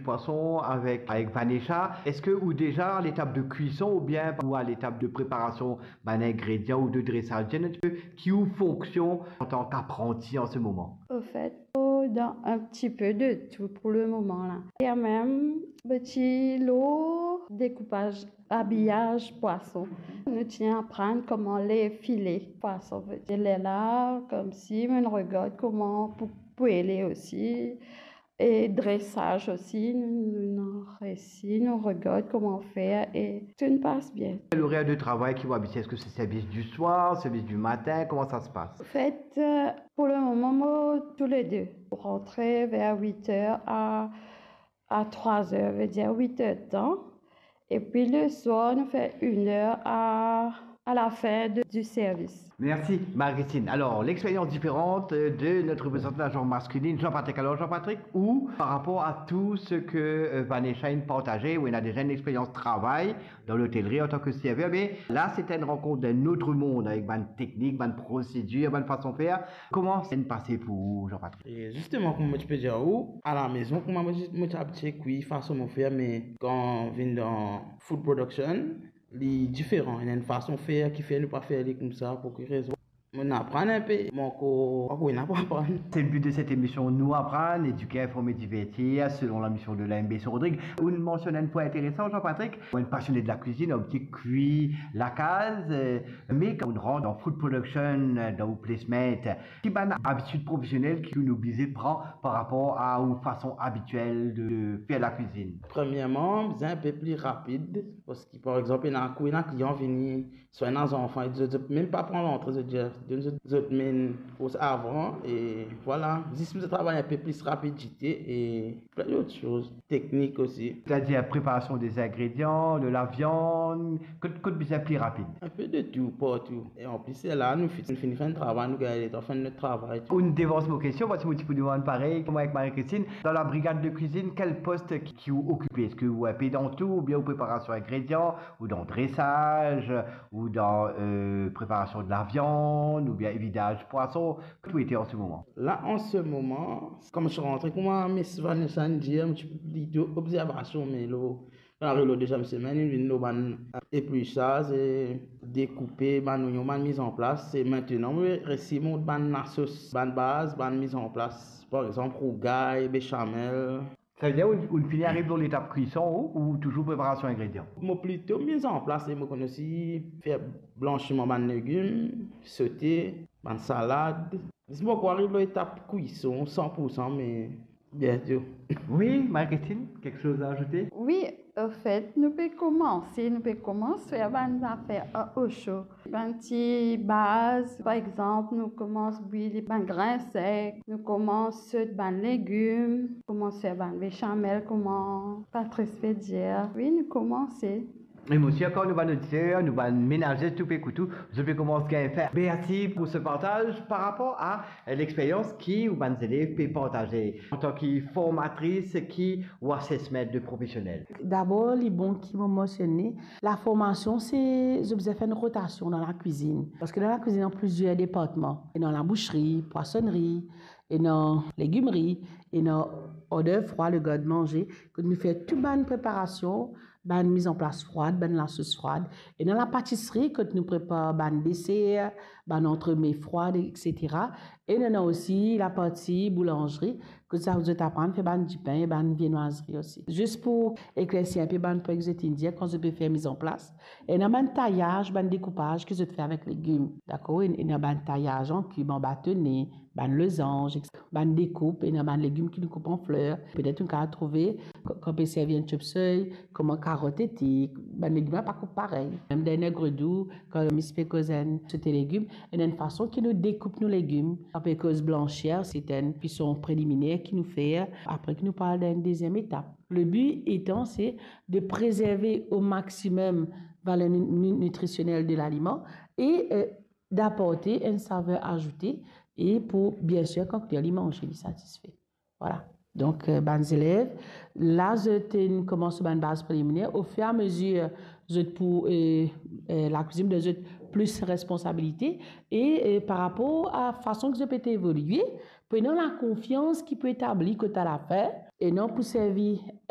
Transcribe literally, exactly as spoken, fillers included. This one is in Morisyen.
Pwason avek, avek Vanessa, eski ou deza a letap de kwison oubien ou a letap de preparasion bann ingredian ou de dresaz? Dir nou enn tipe ki ou fonksion antan ki apranti an se moman? Ofet, dan enn tipe de tou pou le moman la. E mem, ti lor dekoupaz, abiyaz pwason. Nou ti aprann kouma les file pwason. Vedir lerla, koumsi, nou regard kouma pou, pou ele osi. E dresaz osi, nou, nou, nou resi, nou regard kouma fer e tou pas bien. Lorer de travay ki ou abitie, eski se servis di swar, servis di matin, kouma sa se pas? Ofet, pou le moman, mo tou le de. Rantre ver wit er a, a trwa er, vedir wit er tan. Epi le swar, nou fer enn er a, a lafin de, di servis. Mersi, Marie-Christine. Alor, lexperyans diferan de not reprezantan lazansman maskulin, Jean-Patrick. Alor, Jean-Patrick, ou, par rapor a tou seki, euh, Vanessa inn partaze, ou ena deza enn lexperyans travay dan lotelri antan ki server, me la, se enn rankont dan enn lot mond, avek bann teknik, bann prosedir, bann fason fer. Kouma sa inn pase pou ou, Jean-Patrick? E zisteman, kouma mo ti pe dir ou, alamezon, kouma mo ti, mo ti abitie kwi fason mo fer, me kan vinn dan food production, li diferan. Ena enn fason fer ki fer nou pa fer li koumsa. Pou ki rezon? Mo aprann enpe, mo ankor, ankor ena pou aprann. C'est le but de cette émission, nous apprendre, éduquer, informer, divertir, selon la mission de l'A M B C Rodrigues. Ou mansionn enn pwin interesan, Jean-Patrick, ou enn pasione de la kwizinn, ou ti kwi lakaz, euh, me kan ou rant dan food production, euh, dan ou placement, ki bann abitid profesionel ki ou oblize pran par rapor a ou fason abitiel de fer la kwizinn? Premierman, bizin enpe pli rapid, parski, par exanp, ena kou, ena klian vini, swa ena zanfan, e zot, zot mem pa pran lantre, zot dir, donn zot, zot menn koumsa avan, e vwala. Zis bizin travay enpe plis rapidite e plin dot soz, teknik osi. Setadir preparasion de zingredian, de laviann, kot, kot bizin pli rapid? Enpe de tou, partou. E anplis, se la, nou fini, nou fini fer enn travay, nou gagn letan fer not travay. Ou devans mo kestion, parski mo ti pou demann parey, kouma avek Marie-Christine, dan la brigad de kwizinn, kel pos ki, ki ou okipe? Eski ou enpe dan tou, oubien ou preparasion ingredian, ou dan dresaz, ou dan, euh, preparasion de laviann, oubien vidaz pwason? Kot ou ete an se moman? La, an se moman, kan mo ti rantre, kouma Miss Vanessa inn dir, mo ti plito obzervasion, me lor, ariv lor deziem semenn, inn vinn lor bann eplisaz, e dekoupe bann onyon, bann mizanplas. E mintenan, mo resi mont bann lasos, bann baz, bann mizanplas. Par exanp, rougay, besamel. Savedir ou, ou fini ariv lor letap kwison ou, ou touzour preparasion ingredian? Mo plito mizanplas, e mo konn osi fer blansiman bann legim, sote, bann salad. Zis mo pa ariv lor etap kwison san pou san, me biento. Wi, Marie-Christine, kiksoz a azoute? Wi, anfet, nou pe koumanse, nou pe koumans fer bann zafer a osho. Bann ti baz, par exanp, nou koumans bwil bann grin sek, nou koumans sot bann legim, koumans fer bann besamel, kouma Patrice pe dir. Wi, nou koumanse. E mo sir kan nou bann oditer, nou bann menaze, tou pe ekout ou, zot pe koumans gagn fin. Mersi pou se partaz par rapor a, eh, lexperyans ki ou bann zelev pe partaze. Antan ki formatris, ki ou assessment de profesionel? Dabor, li bon ki mo mansione, laformasion, se, zot bizin fer enn rotasion dan lakwizinn. Parski dan lakwizinn, ena plizier departman. Ena labousri, pwasonnri, ena legimri, ena order froid, le garde-manger, kot nou fer tou bann preparasion, bann mizanplas froid, bann lasos froid. Ena lapatisri, kot nou prepar bann deser, bann antreme froid, et cetera. E nou ena osi laparti boulanzri, kot sa zot aprann fer bann dipin e bann viennoiserie osi. Zis pou eklersi enpe bann pwin ki zot inn dir, kan zot pe fer mizanplas, ena bann tayaz, bann dekoupaz ki zot fer avek legim, dakor? Ena bann tayaz an kib, an batone, bann lozanz, bann dekoup, ena bann legim ki nou koup an fler. Petet nou kapav trouve, kan, kan pe servi enn chop suey, kouma karot ete, bann legim la pa koup parey. Mem dan enn grodou, kan Miss pe koz enn sote legim, ena enn fason ki nou dekoup nou legim. Kan pe koz blanser, se enn kwison preliminer ki nou fer, apre ki nou pou al dan enn deziem etap. Le but etan, se de préserver au maximum valer nu-, nu-, nitrisionel de laliman e, euh, d'apporter enn saver azoute e pou, biensir, kan klian li manze, li satisfe. Vwala. Donk, euh, bann zelev, la zot inn koumans bann baz preliminer, au fur et à mesure, zot pou, euh, euh, lakwizinn donn zot plis responsabilite e, euh, par rapor a fason ki zot pe evolie, pou ena lakonfians ki pou etabli kot a lafin, e non pou servi